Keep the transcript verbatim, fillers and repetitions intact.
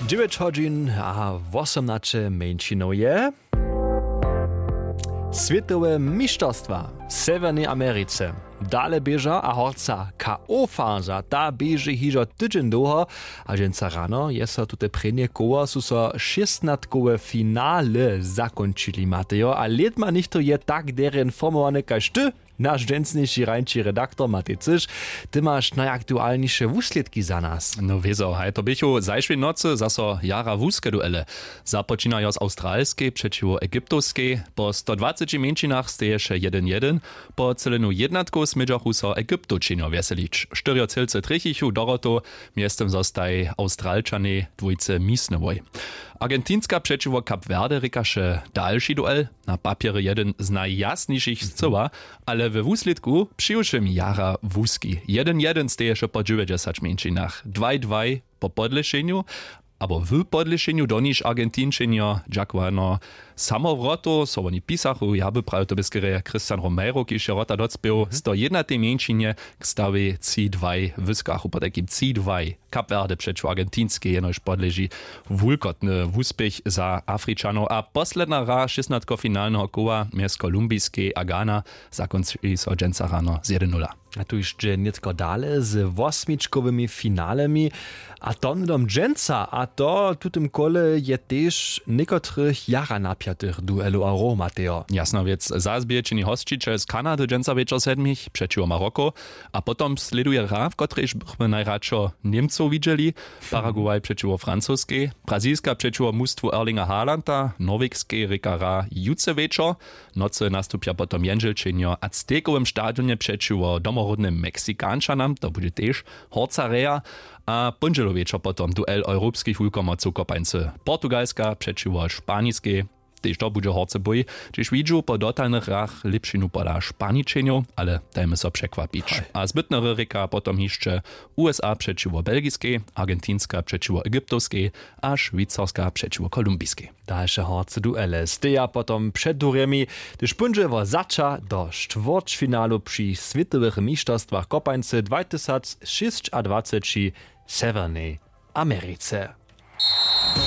Dźewjeć hodźin a wosomnaće mjeńšinow je. Swětowe mišterstwa w Sewjernej Americe dale běža a horca K O faza, ta běži hižo tydźeń dołho. A dźensa rano je so tute prěnje koło su so šěstnatkowe finale zakónčili, Matejo, a lědma něchtó je tak derje informowany kaž ty, naš dźensniši rańši redaktor Matej Cyš. Ty maš najaktualniše wuslědki za nas. No wězo, haj, to běchu zašłej nocy zaso jara wuske duele. Započinajo z awstralskej přećiwo egyptowskej. Po stodwaceći mjeńšinach steješe jedyn jedyn. Po cylenju jednatkow smědźachu so egyptowčenjo wjeselić, štyrjo cylcy trjechichu dorotow. Mjeztym zostaj awstralčanej dwójce misnowoj. Argentinska přećiwo Kap Verde rěkaše dalši duel. Na papjerje jedyn z najjasnišich scyła, ale we wuslědku přiwšěm jara wuski. Jedyn jedyn steješe po dźewjećdźesać mjeńšinach, dwaj dwaj po podlěšenju, abo w podlěšenju doniž Argentinčenjo dźakowano samowrotow, so woni pisachu, ja by prawił, to by skerje Christian Romero, kiž je wrota docpěł, sto jednatej mjeńšinje k stawej tři dwaj wyskachu, potajkim tři dwaj. Kap Verde přećiwo Argentinskej jenož podleži wulkotny wuspěch za Afričanow a posledna hra šěstnatkofinalneho koła mjez Kolumbiskej a Ghana zakónči so dźensa rano z jedyn nula. A tu hišće nětko dale z wosmičkowymi finalemi, a to hnydom dźensa, a to w tutym kole je tež někotrych jara napjatych duelow a hrow, Matejo. Jasna wěc, zas bě čini hosćićel z Kanady dźensa wječor sedmich přećiwo Maroko. A potom slěduje hra, w kotrejž bychmy najradšo Němcow widźeli. Paraguay přećiwo Francoskej, Brazilska přećiwo mustwu Erlinga Haalanda, Norwegskej rěka hra jutře wječor. Nocy nastupja potom jendźelčenjo w Aztekowym stadionje přećiwo domoródnym Meksikančanam, to budźe tež horca reja. A póndźelu wječor potom duel europskich wulkomocow kopańcy Portugalska přećiwo Španiskej. Tež to budźe horcy bój, hdźež widźu po dotalnych hrach lěpšinu pola Španičenjow, ale dajmy so překwapić. A zbytnery rěka potom hišće U S A přećiwo Belgiskej, Argentinska přećiwo Egyptowskej a Šwicarska přećiwo Kolumbiskej. Dalše horce duele steja potom před durjemi, hdyž póńdźe wo zača do štwórćfinalu při swětowych mišterstwach kopańcy dwatysacšěsćadwaceći w Sewjernej Americe.